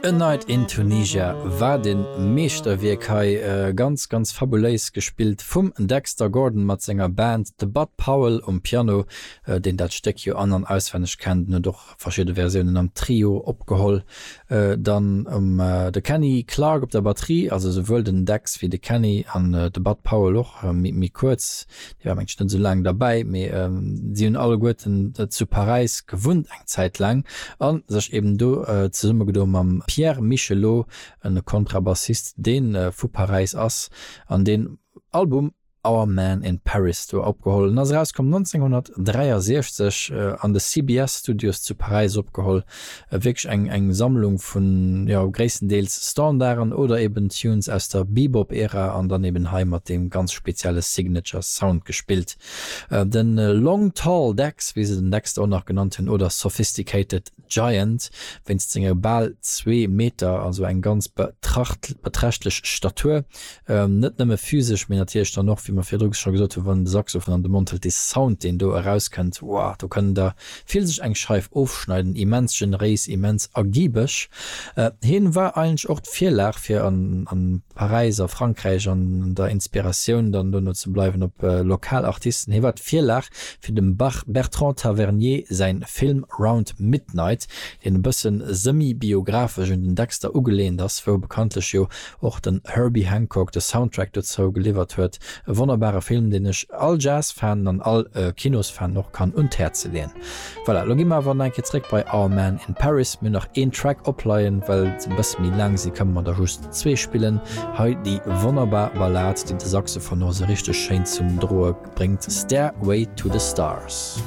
A Night in Tunisia war den Meeschterwierk hei, ganz ganz fabuléis gespillt vum Dexter Gordon mat senger Band, de Bud Powell um Piano, deen dat Stéck jo an an auswenneg kennt, en huet och verschidde Versiounen am Trio opgeholl, dann um de Kenny Clarke op der Batterie, also souwuel den Dex wéi de Kenny an de Bud Powell och méi kuerz, dee war mengt ech net esou laang derbäi, mee si hunn alleguerten zu Paräis gewunnt eng Zäit laang a sech eben do zesummegedo mam Pierre Michelot, e Kontrabassist dee vu Paräis ass an deen Album Our Man in Paris do opgeholl. En ass erauskomm 1963 an de CBS Studios zu Paräis opgeholl. Wierklech eng eng Sammlung vun, jo, gréisstendeels Standarden oder eben Tunes aus der Bebop-Ära an dann eben hei mat deem ganz spezielle Signature Sound gespillt. Den Long Tall Dex, wéi se den Dexter och nach genannt hunn, oder Sophisticated Giant, wéinst senge bal zwee Meter, also eng ganz beträchtlech Statur, net nëmme physesch, mee natierlech dann och, wéi mer virdru scho gesot hunn, wann en de Saxophon an de Mond hëlt, dee Sound, deen do erauskënnt, woah, do kënnen der vill sech eng Scheif ofschneiden. Immens generéis, immens ergibeg. Hien war eigentlech och d'Virlag fir an Paräis a Frankräich an der Inspiratioun dann dono ze bleiwen op lokal Artisten. Hie war d'Virlag fir dem Bertrand Tavernier säin Film Round Midnight, deen e bëssen semi-biographesch un den Dexter ugeleent ass, wou bekanntlech jo och den Herbie Hancock de Soundtrack dozou geliwwert huet. E wonnerbare Film, deen ech all Jazz-Fanen an all Kinosfanen och kann un d'Häerze leeën. Voilà, lo gi mer awer nach eng Kéier zréck bei Our Man in Paris. Mir hunn nach een Track opleien, well se e bësse méi laang sinn, kënne mer der just zwee spillen. Hei déi wonnerbar Ballad, déi de Saxophon och esou richteg schéin zum Droe bréngt, Stairway to the Stars.